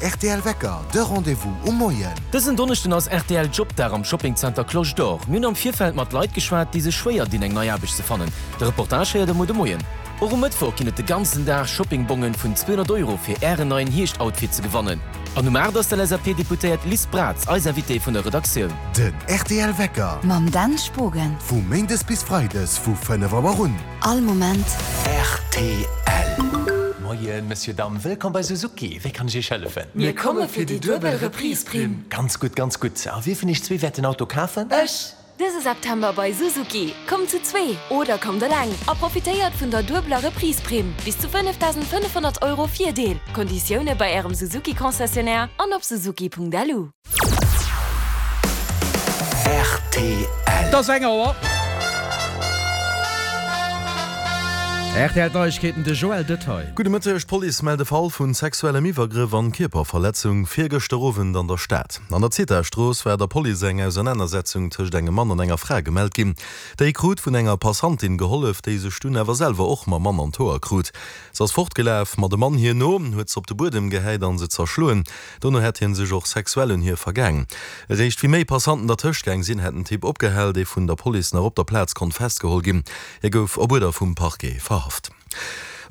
rtl Wecker, de Rendez-vous um Moien. Dësen Donneschden ass rtl Jobdag am Shoppingzenter Cloche d'Or. Mir hunn am Virfeld mat Leit geschwat, déi sech schwéier dinn eng nei Aarbecht ze fannen. De Reportage héiert der muer de Moien. Och um Mëttwoch ginn et de ganzen Dag Shoppingbongen vun 200 Euro fir Ären neien Hierscht-Outfit ze gewannen. An um 8 ass d'LSAP-Deputéiert Liz Braz eis Invitée vun der Redaktioun. Den rtl Wecker. Mam Dan Spogen. Vu Méindes bis Freides vu 5 Auer un. All Moment. Rtl. Moien, Monsieur, Dame, wëllkomm bei Suzuki. Wéi kann ech Iech hëllefen? Mir komme fir déi duebel Reprise-Primm. Ganz gutt, ganz gutt. A wie vun Iech zwee wäert den Auto kafen? Ech! Dëse September bei Suzuki, Kommt zu zwee oder kommt eleng a profitéiert vun der duebeler Reprise-Primm, bis zu 5.500 Euro Virdeel. Konditioune bei Ärem Suzuki-Concessionnaire an op suzuki.lu. Rtl. Et ass eng Auer. RTL Neiegkeeten, de Joël Detail. Gudde Mëtteg, D'Police mellt e Fall vun sexuellem Iwwergrëff an Kierperverletzung virgëschter Owend an der Stad. An der Zithastrooss war der Police eng Ausernanersetzung tëscht engem Mann an enger Fra gemellt ginn. Déi krut vun enger Passantin gehollef, déi sech dunn awer selwer och mam Mann an d'Hoer krut. Se ass fortgelaf, ma de Mann hir no, huet se op de Buedem gehäit an se zerschloen. Dono hätt hie sech och sexuell un hir vergaang. Eréischt wéi méi Passanten dertëscht gaang sinn, hätt den Typ opgehal, dee vun der Police nach op der Plaz konnt festgeholl ginn. Hie gouf op Uerder vum Parquet verhaft.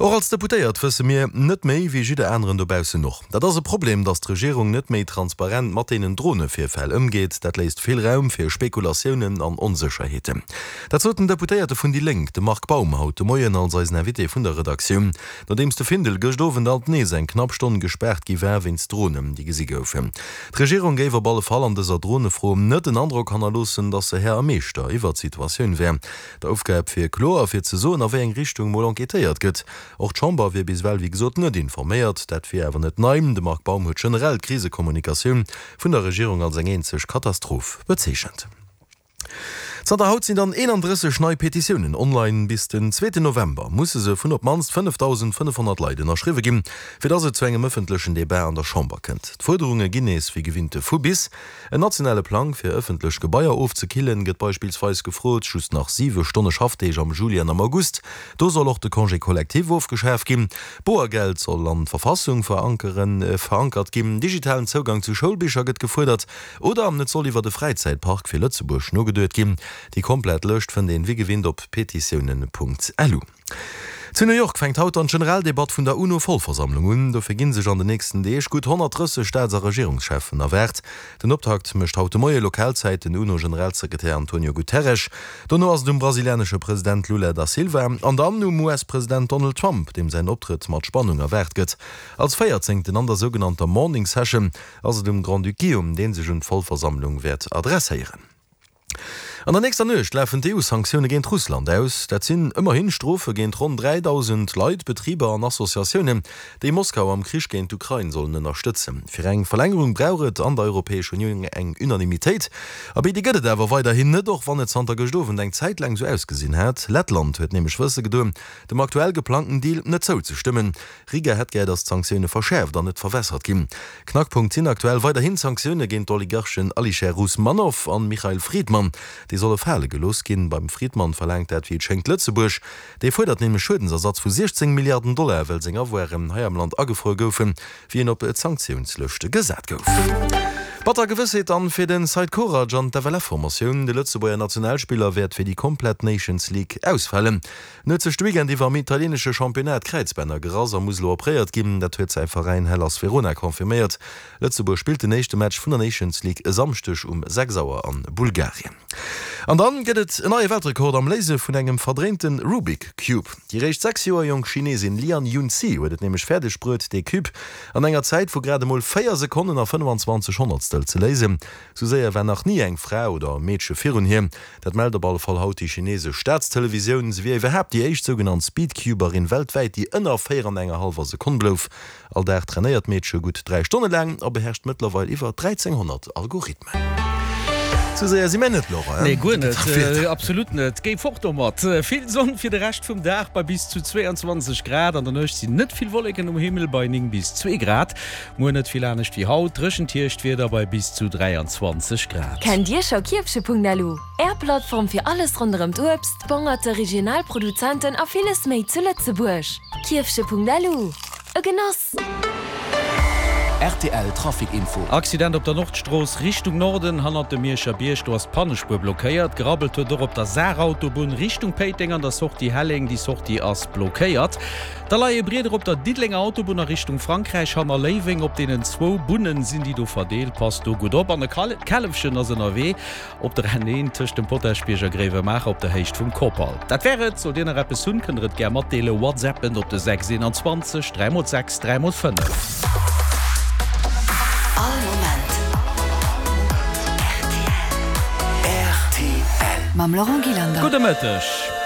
Och als Deputéiert wësse mir net méi wéi jidder aneren dobaussen och. Dat ass e Problem, datt d'Regierung net méi transparent mat deenen Dronevirfäll ëmgeet. Dat léisst vill Raum fir Spekulatiounen an Onsécherheeten. Dat sot den Deputéierte vun déi Lénk, de Marc Baum, haut de Moien als eisen Invité vun der Redaktioun, nodeems de Findel gëscht Owend alt nees eng knapp Stonn gespaart gi war wéinst Dronen, déi gesi goufen. D'Regierung géif op alle Fall an dëser Dronefro net den Androck hannerloossen, datt se Här a Meeschter iwwer d'Situatioun wär. D'Aufgab wier kloer, fir ze soen, a wéi eng Richtung mol enquêtéiert gëtt. Och d'Chamber wier bis ewell wéi gesot net informéiert. Dat wier awer net nei. De Marc Baum huet generell d'Krisekommunikatioun vun der Regierung als eng eenzeg Katastroph bezeechent. Zanter haut sinn dann 31 nei Petitiounen online. Bis den zweeten November musse se vun op d'mannst 5.500 Leit ënnerschriwwe ginn, fir datt et zu engem ëffentlechen Debat an der Chamber kënnt. D'Fuerderunge ginn nees wéi gewinnt vu bis. En nationale Plang fir ëffentlech Gebaier ofzekillen gëtt beispillsweis gefrot, just nach 7 Stonne Schaffdeeg am Juli an am August, do soll och de Congé collectif ofgeschaf ginn, Boergeld soll an d'Verfassung verankert ginn, digitalen Zougang zu Schoulbicher gëtt gefuerdert oder et soll iwwert e Fräizäitpark fir Lëtzebuerg nogeduet ginn. Déi komplett Lëscht fënnt een wéi gewinnt op petitiounen.lu. Zu New York fänkt haut dann d'Generaldebatt vun der UNO-Vollversammlung un. Dofir gi sech an den nächsten Deeg gutt 130 Staats a Regierungscheffen erwaart. Den Optakt mécht haut de Moie Lokalzäit den UNO-Generalsekretär Antonio Guterres. Dono ass et um brasilianesche President Lula da Silva an dann um US-President Donald Trump, deem säin Optrëtt mat Spannung erwaart gëtt. Als Véierzéngten an der sougenannter Morning Session ass et um Grand-Duc Guillaume, dee sech un d'Vollversammlung wäert adresséieren. An der nächster Nuecht lafen d'EU-Sanktioune géint Russland aus. Dat sinn ëmmerhin Strofe géint ronn 3.000 Leit, Betriber an Associatiounen, déi Moskau am Krich géint d'Ukrain sollen ënnerstëtzen. Fir eng Verlängerung brauch et an der Europäesch Unioun eng Unanimitéit. Abee, déi gëtt et awer weiderhin net, och wann et zanter gëscht Owend eng Zäit laang sou ausgesinn hat. Lettland huet nämlech wësse gedoen, dem aktuell geplangten Deal net zouzestëmmen. Riga hätt gär, datt d'Sanktioune verschäerft an net verwässert ginn. Knackpunkt sinn aktuell weiderhin d'Sanktioune géint d'Oligarchen Alisher Usmanov an Michail Fridman. Déi solle fale gelooss ginn. Beim Fridman verlaangt dat wéi et schéngt Lëtzebuerg. Dee fuerdert nämlech Schuedensersatz vu 16 Milliarden Dollar, well seng Avoiren hei am Land agefruer goufen, wéi en op d'Sanktiounslëscht gesat gouf. Batter Gewëssheet dann fir den Seid Korac an d'FLF-Formatioun. De Lëtzebuerger Nationalspiller wäert fir déi komplett Nations League ausfalen. En huet sech de Weekend iwwer am italienesche Championnat d'Kräizbänner gerass a muss elo opréiert ginn. Dat huet säi Veräin Hellas Verona confirméiert. Lëtzebuerg spillt den éischte Match vun der Nations League e Samschdeg um 6 Auer an Bulgarien. An dann gëtt et en neie Weltrekord am Léise vun engem verdréinte Rubik Cube. Déi réischt 6 Joer jonk Chinesin Lian Yunzi huet et nämlech fäerdeg bruet, dee Cube an enger Zäit vu grad emol 4 Sekonnen a 25 Honnertstel ze léisen. Sou séier war nach ni eng Fra oder e Meedche virun hir. Dat mellt op alle Fall haut déi chinesesch Staatstelevisioun. Se wier iwwerhaapt déi éischt sougenannt Speedcuberin weltwäit, déi ënner 4 an enger hallwer Sekonn blouf. All Dag trainéiert d'Meedche gutt 3 Stonne laang a beherrscht mëttlerweil iwwer 1.300 Algorithmen. Sou séier si mär net, Laurent, Nee, guer net. Absolut net. Géi fort domat. Vill Sonn fir de Rescht vum Dag bei bis zu 22 Grad. An der Nuecht sinn net vill Wolleken um Himmel bei 9 bis 2 Grad. Muer net vill anescht wéi haut, dréchent Hierschtwieder bei bis zu 23 Grad. Kennt Dir scho Kierfche.lu, Är Plattform fir alles ronderëm d'Uebst, d'Bongerte, regional Produzenten a villes méi zu Lëtzebuerg? Kierfche.lu, e Genoss! Rtl Trafic Info. Accident op der Nordstrooss Richtung Norden, hannert dem Mierscher Bierg, do ass d'Pannespuer blockéiert. Gerabbelt huet och op der Saarautobunn Richtung Péiteng an der Sortie Helleng, déi Sortie ass blockéiert. Da leie Brieder op der Diddelenger Autobunn a Richtung Frankräich hanner Léiweng. Op deenen zwou Bunnen sinn déi do verdeelt, passt do gutt op. An e Källefchen ass ënnerwee op der N1 tëscht dem Potaschbierg a Gréiwemaacher op der Héicht vum Kopal. Dat wär et. Sollt Dir nach eppes hunn, kënnt der et gär matdeelen. Whatsappen op de 6 21 3 x 6 3 x 5. All Moment rtl. Mam Laurent Gillander. Gudde Mëtteg.